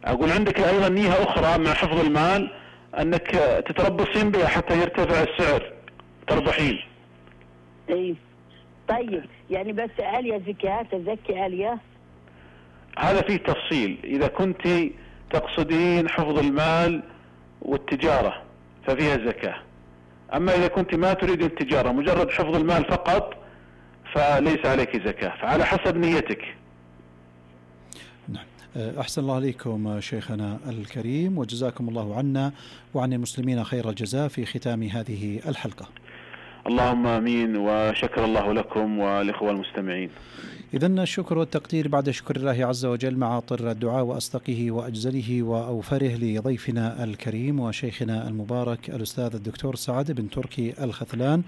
أقول عندك أيضا نية أخرى مع حفظ المال، أنك تتربصين بها حتى يرتفع السعر تربحين. اي طيب، يعني بس آلية زكاة تزكي آلية؟ هذا فيه تفصيل. إذا كنت تقصدين حفظ المال والتجارة ففيها زكاة، أما إذا كنت ما تريد التجارة مجرد حفظ المال فقط فليس عليك زكاة، فعلى حسب نيتك. نعم. أحسن الله عليكم شيخنا الكريم، وجزاكم الله عنا وعن المسلمين خير الجزاء في ختام هذه الحلقة. اللهم آمين، وشكر الله لكم والإخوة المستمعين. إذن الشكر والتقدير بعد شكر الله عز وجل مع طر الدعاء وأصدقه وأجزله وأوفره لضيفنا الكريم وشيخنا المبارك الأستاذ الدكتور سعد بن تركي الخثلان،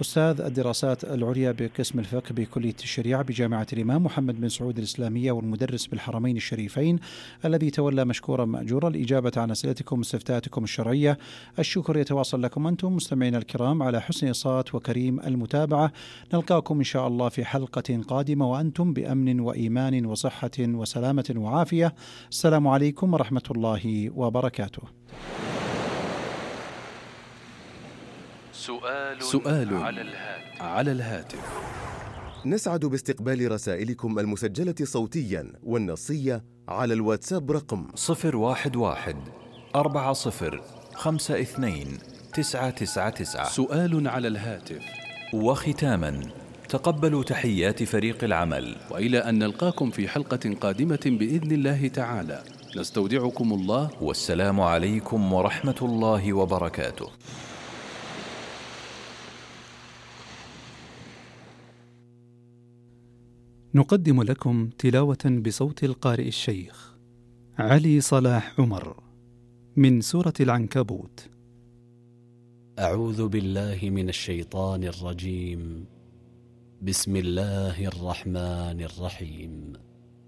أستاذ الدراسات العليا بقسم الفقه بكلية الشريعة بجامعة الإمام محمد بن سعود الإسلامية، والمدرس بالحرمين الشريفين، الذي تولى مشكورا مأجورا الإجابة عن أسئلتكم واستفتاءاتكم الشرعية. الشكر يتواصل لكم أنتم مستمعين الكرام على حسن الصوت وكريم المتابعة. نلقاكم إن شاء الله في حلقة قادمة وأنتم بأمن وإيمان وصحة وسلامة وعافية. السلام عليكم ورحمة الله وبركاته. سؤال على الهاتف. نسعد باستقبال رسائلكم المسجلة صوتيا والنصية على الواتساب رقم 011-40-52-999. سؤال على الهاتف. وختاما، تقبلوا تحيات فريق العمل، وإلى أن نلقاكم في حلقة قادمة بإذن الله تعالى، نستودعكم الله، والسلام عليكم ورحمة الله وبركاته. نقدم لكم تلاوة بصوت القارئ الشيخ علي صلاح عمر من سورة العنكبوت. أعوذ بالله من الشيطان الرجيم. بسم الله الرحمن الرحيم.